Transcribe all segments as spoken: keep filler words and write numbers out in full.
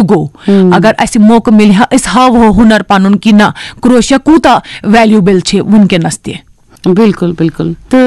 گوٚو۔ اگر اَسہِ موقعہٕ مِلہِ ہا، أسۍ ہاوہو ہُنر پَنُن کہِ نہ، کروشیا کوٗتاہ ویلیوبل چھِ وٕنکیٚنَس تہِ۔ بالکل، بالکل۔ تو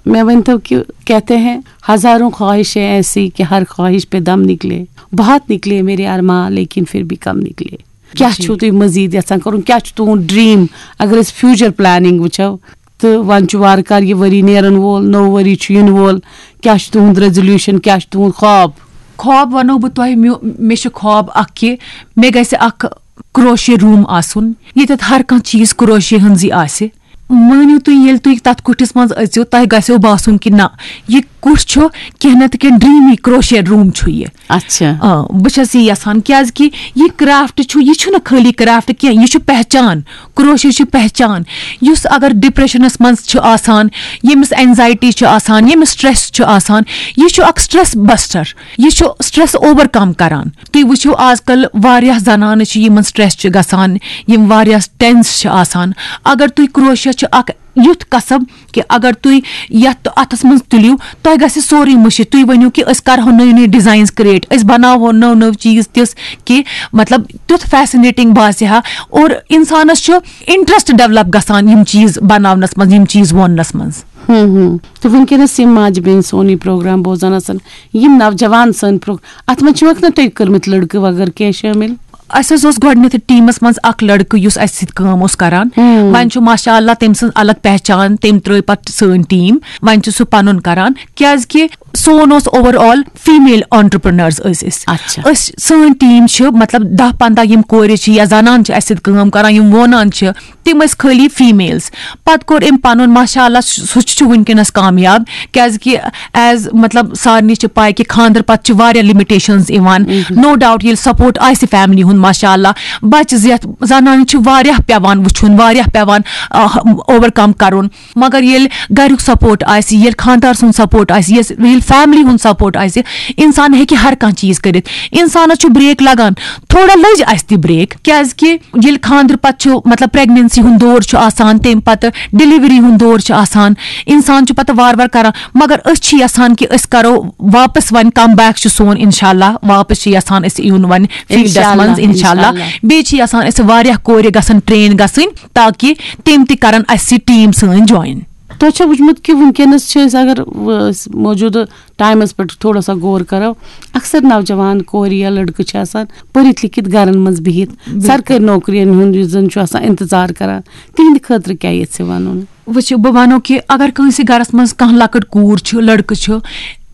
میں ؤنۍ تو کہ کہتے ہیں، ہزاروں خواہشیں ایسی کہ ہر خواہش پہ دم نکلے، بہت نکلے میرے ارماں، لیکن پھر بھی کم نکلے۔ کیا چھو تُہۍ مزید یژھان کرُن؟ کیا چھُ تُہُنٛد ڈریم؟ اگر أسۍ فیوچر پلاننگ وٕچھو، تہٕ وۄنۍ چھُ وارٕ کارٕ یہِ ؤری نیرن وول، نوٚو ؤری چھُ یِنہٕ وول، کیا چھُ تُہُنٛد ریزولوشن، کیا چھُ تُہُنٛد خواب؟ خواب وَنو بہٕ تۄہہِ، میو-، مےٚ چھُ خواب اکھ کہِ مےٚ گژھِ اکھ کروشے روٗم آسُن، ییٚتٮ۪تھ ہر کانٛہہ چیٖز کروشے ہٕنٛزٕے آسہِ۔ مٲنِو تُہۍ، ییٚلہِ تُہۍ تَتھ کُٹھِس منٛز أژِو، تۄہہِ گژھیو باسُن کہِ نہ، یہِ کُٹھ چھُ کینٛہہ نَتہٕ کینٛہہ ڈریٖمی کروشے روٗم چھُ یہِ۔ اچھا۔ آ، بہٕ چھَس یہِ یَژھان، کیٛازِکہِ یہِ کرافٹ چھُ، یہِ چھُنہٕ خٲلی کرافٹ کینٛہہ، یہِ چھُ پہچان۔ کروشے چھُ پہچان۔ یُس اگر ڈپریشنس منٛز چھُ آسان، ییٚمِس اینزایٹی چھُ آسان، ییٚمِس سٹریس چھُ آسان، یہِ چھُ اکھ سٹریس بسٹر، یہِ چھُ سٹریس اوور کم کران۔ تُہۍ وٕچھِو، آز کل واریاہ زنانہٕ چھِ، یِمن سٹریس چھُ گژھان، یِم واریاہ ٹینس چھِ آسان۔ اگر تُہۍ، کروشیا چھُ اکھ یُتھ کسب کہِ اگر تُہۍ یتھ اتھس منٛز تُلِو، تۄہہِ گژھِ سورُے مٔشِتھ۔ تُہۍ ؤنِو کہِ أسۍ کرہو نٔوۍ نٔوۍ ڈیزاینز کریٹ، أسۍ بناوہو نٔو نٔو چیٖز تِژھ کہِ مطلب تیُتھ فیسنیٹنگ باسہِ ہا، اور انسانس چھُ انٹرسٹ ڈیولپ گژھان یِم چیٖز بناونس منٛز، یِم چیٖز ووننس منٛز۔ ہم ہم۔ تہٕ وٕنکیٚنَس یِم ماجہِ بیٚنہِ سون یہِ پروگرام بوزان آسان، یِم نوجوان سٲنۍ پرو-، اَتھ منٛز چھِوکھ نہ تُہۍ کٔرمٕتۍ لٔڑکہٕ وغٲرٕ کینٛہہ شٲمِل؟ اَسہِ حظ اوس گۄڈٕنیتھ ٹیٖمَس منٛز اکھ لٔڑکہٕ یُس اَسہِ سۭتۍ کٲم اوس کران۔ ہم۔ وۄنۍ چھُ ماشاء اللہ تٔمۍ سٕنٛز الگ پہچان، تٔمۍ ترٲو پتہٕ سٲنۍ ٹیٖم، وۄنۍ چھُ سُہ پنُن کران، کیازِ کہِ سون اوس اوور آل فیمیل آنٹرپرنرز ٲسۍ أسۍ۔ اچھا۔ أسۍ، سٲنۍ ٹیٖم چھِ مطلب دَہ پنٛداہ یِم کورِ چھِ یا زنان چھِ اَسہِ سۭتۍ کٲم کران، یِم وونان چھِ، تِم ٲسۍ خٲلی فیمیلز۔ پتہٕ کوٚر أمۍ پنُن، ماشاء اللہ، سُہ سُہ تہِ چھُ وٕنکیٚنس کامیاب، کیازِ کہِ ایز مطلب سارنٕے چھِ پاے کہِ خاندر پتہٕ چھِ واریاہ لِمِٹیشنز یِوان۔ نو ڈاوٹ، ییٚلہِ سپورٹ آسہِ فیملی ہُنٛد، ماشاء اللہ، بچہِ زیتھ زنانہِ چھُ واریاہ پیوان وٕچھُن، واریاہ پیوان اوور کم کرُن۔ مگر ییٚلہِ گریُک سپورٹ آسہِ، ییٚلہِ خاندار سُنٛد سپورٹ آسہِ، یس-، ییٚلہِ فیملی ہُنٛد سپورٹ آسہِ، انسان ہیٚکہِ ہر کانٛہہ چیٖز کٔرِتھ۔ انسانس چھُ بریک لگان، تھوڑا لٔج اَسہِ تہِ بریک، کیازِ کہِ ییٚلہِ خاندرٕ پتہٕ چھُ مطلب پریگننسی ہُنٛد دور چھُ آسان، تمہِ پتہٕ ڈیلیوری ہُنٛد دور چھُ آسان، انسان چھُ پتہٕ وارٕ وارٕ کران۔ مگر أسۍ چھِ یژھان کہِ أسۍ کرو واپس، وۄنۍ کم بیک چھُ سون، انشاء اللہ واپس چھِ یژھان أسۍ یُن وۄنۍ فیلڈس انشاء اللہ، منٛز، انشاء اللہ۔ انشاء اللہ۔ بیٚیہِ چھِ یژھان أسۍ واریاہ کورِ گژھن ٹرین گژھٕنۍ، تاکہِ تِم تہِ کرن اَسہِ سۭتۍ ٹیٖم سٲنۍ جوین۔ تۄہہِ چھا وٕچھمُت کہِ وٕنکیٚنَس چھِ أسۍ، اگر، أسۍ موجوٗدٕ ٹایمَس پٮ۪ٹھ تھوڑا سا غور کَرو، اکثر نوجوان کورِ یا لٔڑکہٕ چھِ آسان پٔرِتھ لیٚکھِتھ گَرَن منٛز بِہِتھ، بِلکُل۔ سرکٲرۍ نوکرِیَن ہُنٛد یُس زَن چھُ آسان اِنتظار کَران، تِہِنٛدِ خٲطرٕ کیٛاہ یَژھِ وَنُن؟ وٕچھِو، بہٕ وَنو کہِ اگر کٲنٛسہِ گَرَس منٛز کانٛہہ لۄکٕٹ کوٗر چھِ، لٔڑکہٕ چھُ،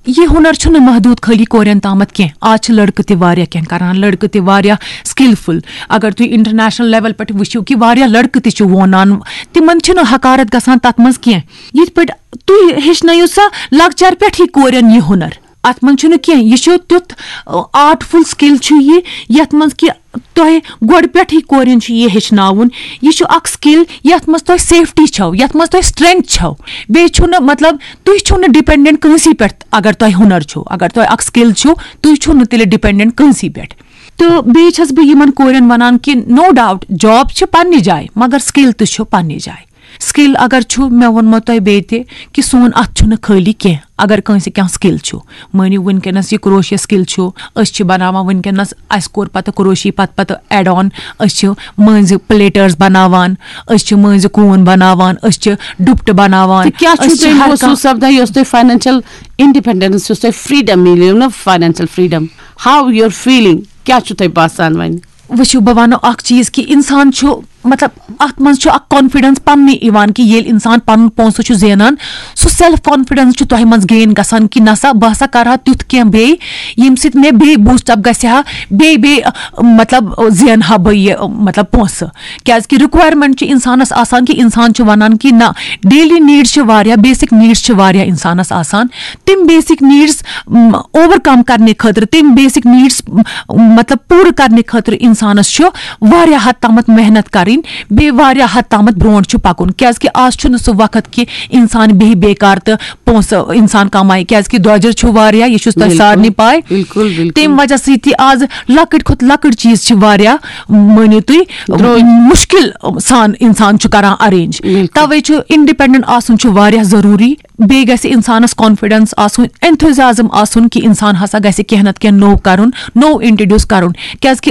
یہِ ہُنر چھُنہٕ محدوٗد خٲلی کورٮ۪ن تامَتھ کینٛہہ۔ آز چھِ لٔڑکہٕ تہِ واریاہ کینٛہہ کَران، لٔڑکہٕ تہِ واریاہ سکلفل۔ اگر تُہۍ انٹرنیشنل لیول پٮ۪ٹھ وٕچھِو کہِ واریاہ لٔڑکہٕ تہِ چھِ وونان، تِمن چھِنہٕ حقارت گژھان تَتھ منٛز کینٛہہ۔ یِتھ پٲٹھۍ تُہۍ ہیٚچھنٲیِو سا لۄکچار پٮ۪ٹھٕے کورٮ۪ن یہِ ہُنر۔ اَتھ منٛز چھُنہٕ کینٛہہ، یہِ چھُ تیُتھ آرٹفُل سکل چھُ یہِ، یَتھ منٛز کہِ تۄہہِ گۄڈٕ پٮ۪ٹھٕے کورٮ۪ن چھُ یہِ ہیٚچھناوُن۔ یہِ چھُ اکھ سکل یَتھ منٛز تۄہہِ سیفٹی چھو، یَتھ منٛز تۄہہِ سٹرینتھ چھو۔ بیٚیہِ چھُنہٕ مطلب تُہۍ چھِو نہٕ ڈِپینڈنٹ کٲنٛسہِ پٮ۪ٹھ۔ اگر تۄہہِ ہُنر چھُو، اگر تۄہہِ اکھ سکل چھُو، تُہۍ چھِو نہٕ تیٚلہِ ڈِپینڈنٹ کٲنٛسہِ پٮ۪ٹھ۔ تہٕ بیٚیہِ چھَس بہٕ یِمن کورٮ۪ن وَنان کہِ نو ڈاوٹ جاب چھِ پننہِ جایہِ، مگر سکل تہِ چھُ پننہِ جایہِ۔ سکل اگر چھُ، مےٚ ووٚنمو تۄہہِ بیٚیہِ تہِ کہِ سون اَتھ چھُنہٕ خٲلی کینٛہہ۔ اگر کٲنٛسہِ کانٛہہ سکل چھُ، مٲنِو وٕنکیٚنَس یہِ کروشیا سکل چھُ، أسۍ چھِ بَناوان وٕنکیٚنَس، اَسہِ کوٚر پَتہٕ کروشی پَتہٕ پَتہٕ ایڈ آن، أسۍ چھِ مٲنٛزِ پلیٹٲرٕس بَناوان، أسۍ چھِ مٲنٛزِ کوٗن بَناوان، أسۍ چھِ ڈُپٹہٕ بَناوان، تہٕ کیٛاہ چھُو أسۍ چھِ تۄہہِ ہر محسوٗس کانٛہہ سپدان یۄس تۄہہِ فاینانشل انڈیپینڈنس، یۄس تۄہہِ فریڈم میلیو نا، فاینانشل فریڈم، ہاو یور فیلنگ، کیٛاہ چھُو تۄہہِ باسان وۄنۍ؟ وٕچھِو، بہٕ وَنو اَکھ چیٖز کہِ اِنسان چھُ، مطلب، اَتھ منٛز چھُ اَکھ کانفیڈنس پَننُے یِوان کہِ ییٚلہِ اِنسان پَنُن پونٛسہٕ چھُ زینان، سُہ سیلف کانفیڈنس چھُ تۄہہِ منٛز گین گژھان کہِ نہ سا، بہٕ ہسا کَرٕ ہا تیُتھ کینٛہہ بیٚیہِ، ییٚمہِ سۭتۍ مےٚ بیٚیہِ بوٗسٹ اپ گژھِ ہا، بیٚیہِ بیٚیہِ، مطلب، زینہٕ ہا بہٕ یہِ، مطلب، پونٛسہٕ۔ کیٛازِ کہِ رِکویرمنٹ چھِ اِنسانَس آسان کہِ اِنسان چھُ وَنان کہِ نہ، ڈیلی نیٖڈٕس چھِ واریاہ، بیسک نیٖڈٕس چھِ واریاہ اِنسانَس آسان۔ تِم بیسک نیٖڈٕس اوور کم کرنہٕ خٲطرٕ، تِم بیسک نیٖڈٕس مطلب پوٗرٕ کرنہٕ خٲطرٕ اِنسانَس چھُ واریاہ حد تامَتھ محنت کَرٕنۍ، بیٚیہِ واریاہ حد تامَتھ برونٛٹھ چھُ پَکُن۔ کیٛازِ کہِ آز چھُنہٕ سُہ وقت کہِ اِنسان بیٚہہِ بیکار تہٕ پونٛسہٕ اِنسان کمایہِ، کیٛازِ کہِ درٛۄجر چھُ واریاہ، یہِ چھُ تۄہہِ بِلکُل، سارنٕے پاے۔ بِلکُل، بِلکُل۔ تَمہِ وجہ سۭتۍ تہِ آز لۄکٕٹۍ کھۄتہٕ لۄکٕٹ چیٖز چھِ واریاہ، مٲنِو تُہۍ، درٛوٚگۍ۔ مُشکِل سان اِنسان چھُ کران ارینج۔ بِلکُل۔ توے چھُ انڈیپینڈنٹ آسُن چھُ واریاہ ضروٗری۔ بیٚیہِ گژھِ اِنسانَس کانفیڈنس آسُن، enthusiasm آسُن کہِ اِنسان ہسا گژھِ کینٛہہ نتہٕ کینٛہہ نوٚو کرُن، نوٚو انٹروڈیوس کرُن۔ کیٛازِ کہِ